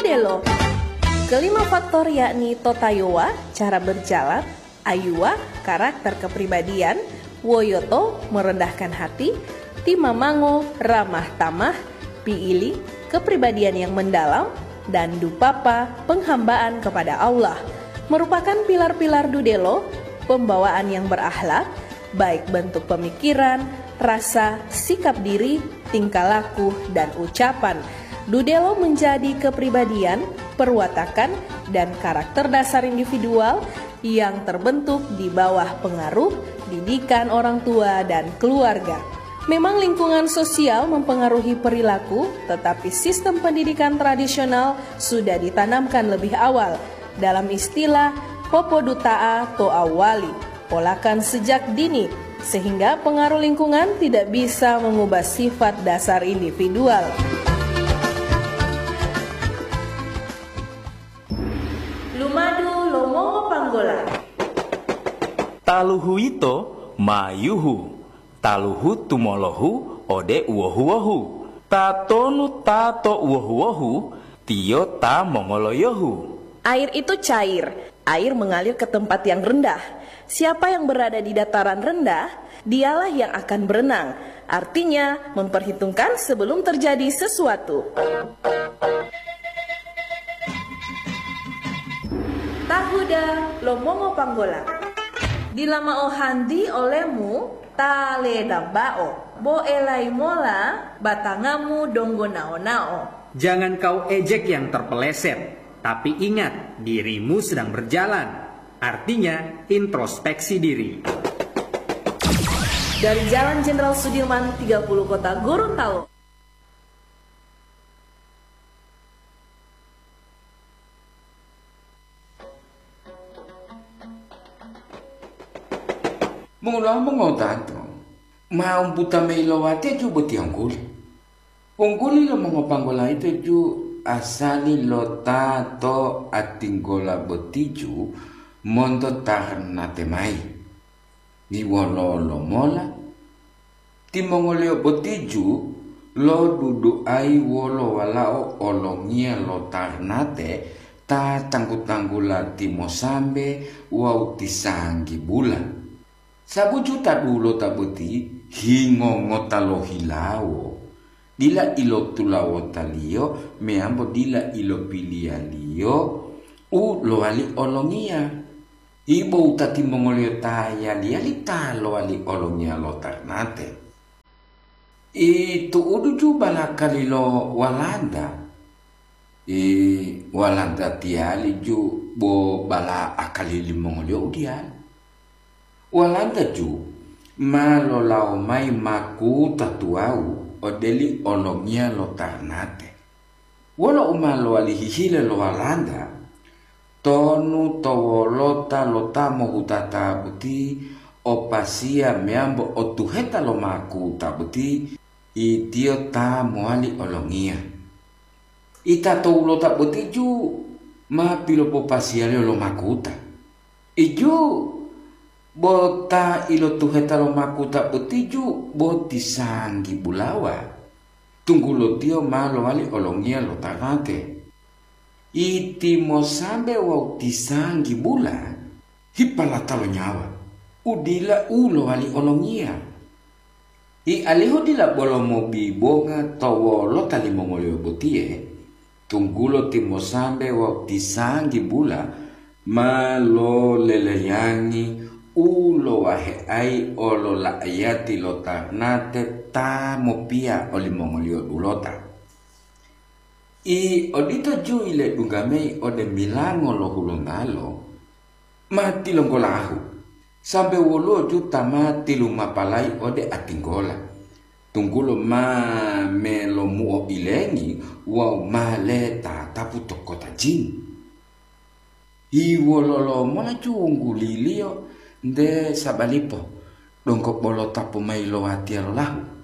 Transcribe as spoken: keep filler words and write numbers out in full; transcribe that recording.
Delo. Kelima faktor yakni totayowa, cara berjalan, ayuwa, karakter kepribadian, woyoto, merendahkan hati, timamango, ramah tamah, piili, kepribadian yang mendalam, dan dupapa, penghambaan kepada Allah, merupakan pilar-pilar dudelo, pembawaan yang berakhlak, baik bentuk pemikiran, rasa, sikap diri, tingkah laku, dan ucapan. Dudelo menjadi kepribadian, perwatakan, dan karakter dasar individual yang terbentuk di bawah pengaruh didikan orang tua dan keluarga. Memang lingkungan sosial mempengaruhi perilaku, tetapi sistem pendidikan tradisional sudah ditanamkan lebih awal. Dalam istilah, popoduta'a to awali, polakan sejak dini, sehingga pengaruh lingkungan tidak bisa mengubah sifat dasar individual. Lumadu lo mongopanggola. Taluhu yito mayuhu, taluhu tumolohu ode uwohu-wohu. Tatonu ta to uwohu-wohu, tiyo ta mongoloyohu. Air itu cair. Air mengalir ke tempat yang rendah. Siapa yang berada di dataran rendah, dialah yang akan berenang. Artinya, memperhitungkan sebelum terjadi sesuatu. Tahuda lo mongopanggola. Dila mao hanti olemu ta ledambao, bo elai mola batangamu donggo nao-nao. Jangan kau ejek yang terpeleset, tapi ingat, dirimu sedang berjalan. Artinya, introspeksi diri. Dari Jalan Jenderal Sudirman tiga puluh Kota Gorontalo. Mongolowa mongotato, ma umbuta mayi lo watiya ju boti angguli. Ungguli lo mongopanggola ito ju asali lo ta to atinggola boti ju monto tarnate mayi. Ni wololo mola? Timongoliyo boti ju loduduayi wolo walao olongiya lo tarnate ta tanggu-tanggula timosambe wawu tisanggibula. Sabu juta dulota boti hingo ngota lohilawo, dila ilotulawotaliyo meyambo dila ilopiliyaliyo u lowali olongiya. Ibo wutati mongoliyo ta yali-yali ta lowali olongiya lo tarnate. I tu'udu ju balakali lo Walanda. I Walanda tiyali ju bo bala akali limongoliyo u diyalu. Walanda ju ma lolawo mayi makuta tuwawu odeli olongiya lo tarnate. Wolo u ma lowali hihile lo Walanda, tonu to wolota lo ta mohutata boti o pasiya meyambo o tuheta lo makuta boti, itiyo ta mowali olongiya. Ita to wolota boti ju ma pilopopasiyaliyo lo makuta. Iju bo ta ilotuheta lo makuta boti ju bo tisanggi bulawa, tunggulo tiyo ma lowali olongiya lo tarnate. Iti mosambe wawu tisanggi bula hipalata lo nyawa, u dila u lowali olongiya. I alihu dila bolo mobibonga to wolota limongoliyo botiye, tunggulo timosambe wawu tisanggi bula ma loleleyangi u lowaheayi olola'ayati lo tarnate ta mopiya olimongoliyo dulota. I odito ju iledungga mayi ode milango lo Hulontalo, ma tilonggolahu, sambe woluwo ju ta ma tilumapalayi ode atinggola, tunggulo ma melomuo ilengi wawu ma letatapu to kota jin. Hiwololo mola ju wungguliliyo nte sabalipo, donggo bolo tapu mayi lo watiya lolahu.